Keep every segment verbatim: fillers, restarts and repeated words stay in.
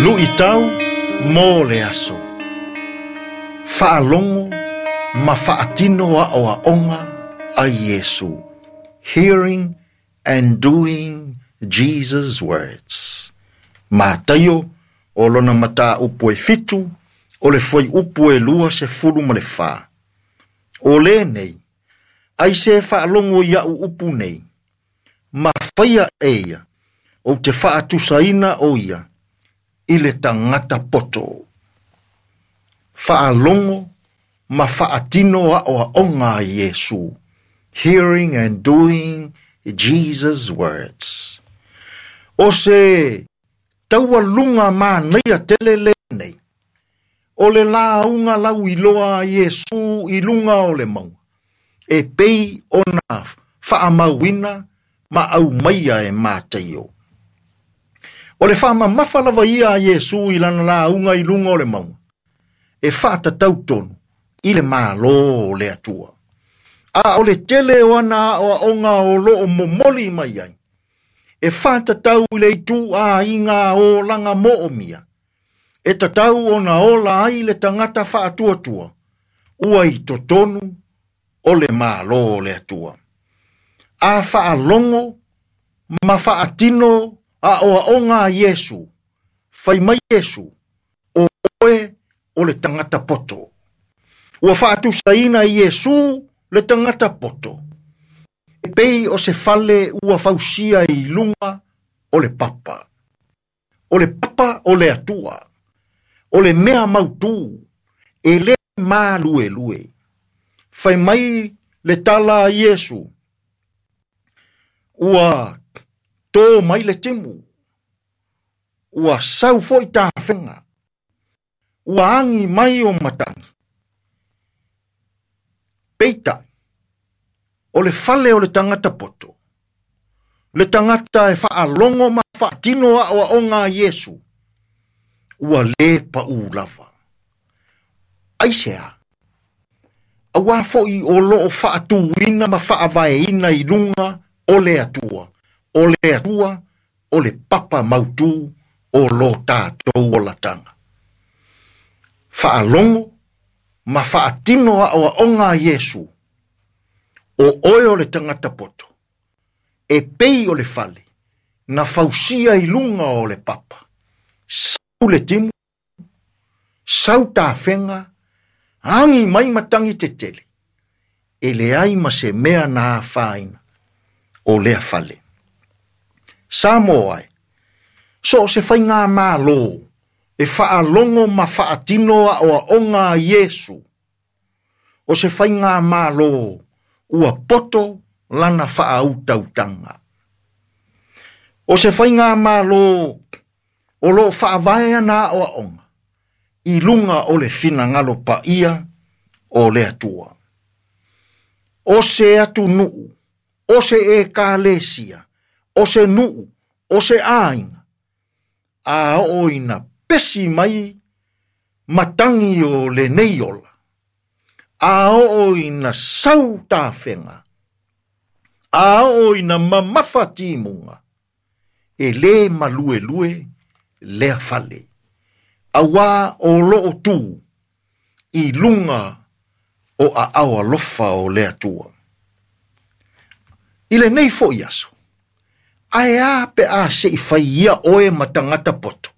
Luʻitau mo le aso. Faalogo ma faatino aʻoaʻoga a Iesu. Hearing and doing Jesus' words. Mataio o lona mataupu e fitu o le fuaiupu e lua sefulu ma le fa. O lenei, ai se faalogo i aʻu upu nei, ma faia e ia, ou te faatusaina o ia, i le tagata poto. Faalogo ma faatino aʻoaʻoga a Iesu. Hearing and doing Jesus' words. O se taualuga manaia tele lenei, o le lauga lauiloa a Iesu i luga o le mauga, e pei ona faamauina ma aumaia e Mataio. O le faamamafa lava ia a Iesu i lana lauga i luga o le mauga, e faatatau tonu i le Malo o le Atua. A o le tele o ana aʻoaʻoga o loo momoli mai ai, e faatatau i le ituaiga olaga moomia, e tatau ona ola ai le tagata faatuatua, ua i totonu o le Malo o le Atua. A faalogo ma faatino aʻoaʻoga a Iesu, fai mai Iesu, o oe o le tagata poto. Ua faatusaina Iesu le tagata poto, e pei o se fale ua fausia i luga o le papa. O le papa o le Atua, o le mea mautū, e le maluelue. Fai mai le tala a Iesu, ua tō mai le timu, ua sau foi tafega, ua agi mai o matagi. Peitai, o le fale o le tagata poto, le tagata e faalogo ma faatino aʻoaʻoga a Iesu, ua le paʻū lava. Aisea, auā foʻi o loo faatuina ma faavaeina i luga o le Atua, o le Atua o le papa mautū o lo tatou olataga. Faalogo ma faatino aʻoaʻoga a Iesu, o oe o le tagata poto, e pei o le fale, na fausia i luga o le papa. Sau le timu, sau tafega, agi mai matagi tetele, e leai ma se mea na afaina o lea fale. Samoa e, so o se faiga malo, e faalogo ma faatino aʻoaʻoga a Iesu, o se faiga malo, ua poto lana faautautaga. O se faiga malo, o loo faavae ana aʻoaʻoga, i luga o le finagalo paia o le Atua. O se atunuu, o se ekalesia, o se nuu, o se aiga, a oo ina pesi mai matagi o lenei ola, a oo ina sau tafega, a oo ina mamafa timuga, e lē maluelue lea fale, auā o loo tū i luga o aao alofa o le Atua. I lenei foʻi aso, ae a pe a seʻi fai ia oe ma tagata poto.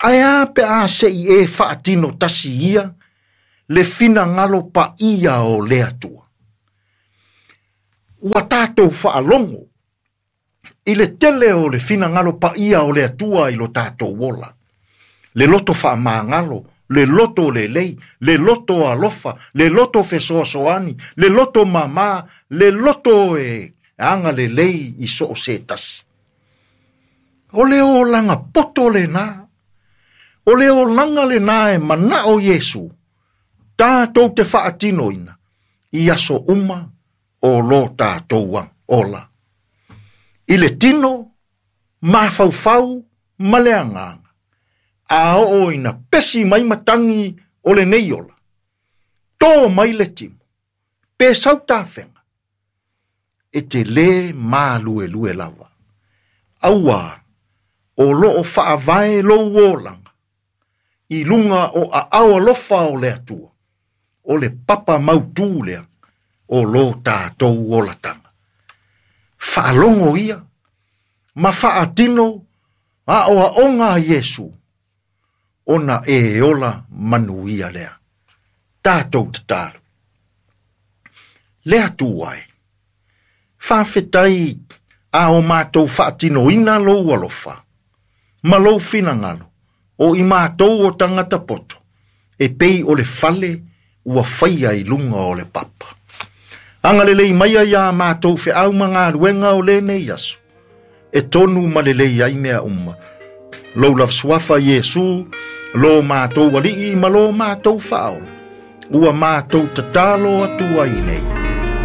Ae a pe a seʻi e faatino tasi ia le finagalo paia o le Atua. Ua tatou faalogo i le tele o le finagalo paia o le Atua i lo tatou ola. Le loto faamagalo, le loto lelei, le loto alofa, le loto fesoasoani, le loto mamā, le loto e agalelei i so o se tasi. O le olaga poto lenā, o le olaga lenā e manaʻo Iesu, tatou te faatinoina, i aso uma o lo tatou ola. I le tino, mafaufau ma le agaga, a oo ina pesi mai matagi o lenei ola, tō mai le timu, pe sau tafega, e te lē maluelue lava. Auā O loo faavae lou olaga i luga o aao alofa o le Atua, o le papa mautū lea o lo tatou olataga. Faalogo ia ma faatino aoaoga a Iesu, ona e ola manuia lea. Tatou tatalo. Le Atua e, faafetai a o matou faatinoina lou alofa ma lou finagalo o i matou o tagata poto, e pei o le fale ua faia i luga o le papa. Agalelei maia iā matou feau ma galuega o lenei aso, e tonu ma lelei ai mea uma. Lou lava suafa Iesu, lo matou alii ma lo matou faaola, ua matou tatalo atu ai nei.